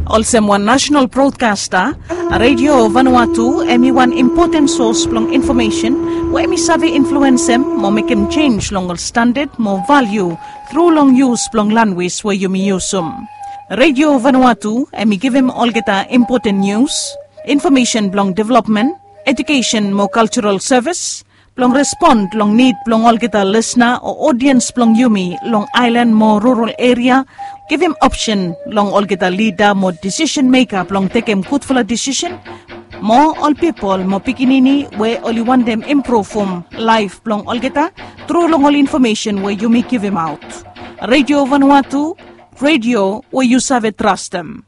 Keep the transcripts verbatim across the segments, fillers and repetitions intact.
Olsem wan nasional brodkasta, Radio Vanuatu em i wan impoten sos blong infomesen we em i save influensem mo mekem jenj long ol standad mo valiu tru long yus blong lanwis we yumi yusum. Radio Vanuatu em i givim olgeta impoten nius, infomesen blong developmen, ejukesen mo kaltural sevis, blong respon long nid blong olgeta lisna o odiens blong yumi long aelan mo rural eria, givim opsen long olgeta lida mo disisen meka blong tekem gudfala disisen, mo ol pipol mo pikinini we oli wantem impruvum laef blong olgeta tru long ol infomesen we yumi givimaot. Radio Vanuatu, radio we yu save trastem.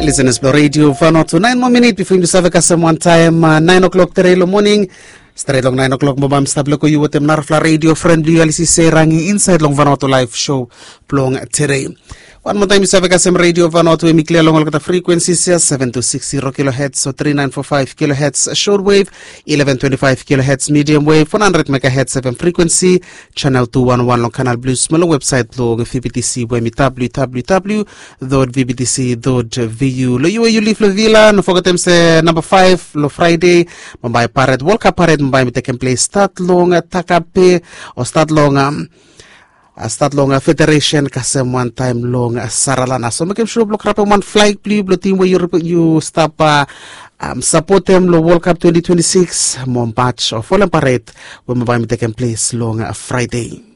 Lisenas blong Radio Vanuatu, naen moa minit bifo yumi save kasem wantaem naen o'klok tere long moning. Stret long naen o'klok mo bae mi stap leko yu wetem narafala radio fren blong yu Alisi Serangi insaed long Vanuatu Laef Sou blong tere. Wan moa taem yu save kasem Radio Vanuatu, em i klia long olgeta frikwensis ya, seven two six zero kilohertz o three nine four five kilohertz shortwave, eleven twenty-five kilohertz medium wave, one hundred megahertz F M frequency, channel two one one long Canal Plus, mo long websaet blong V B T C we em i W W W dot V B T C dot V U. Long yu we yu liv long Vila, no fogetem se namba faef long Fraede bambae pared, World Cup pared bambae mi tekem ples stat long Takape, o stat long, um, a stat long Federation kasem wantaem long Saralana. So mekem sua blong grabem wan flaeg blong yu blong tim we yu, yu stap, a, um, sapotem long World Cup twenty twenty-six, mo march o folem pared we bambae mi tekem ples long Fraede.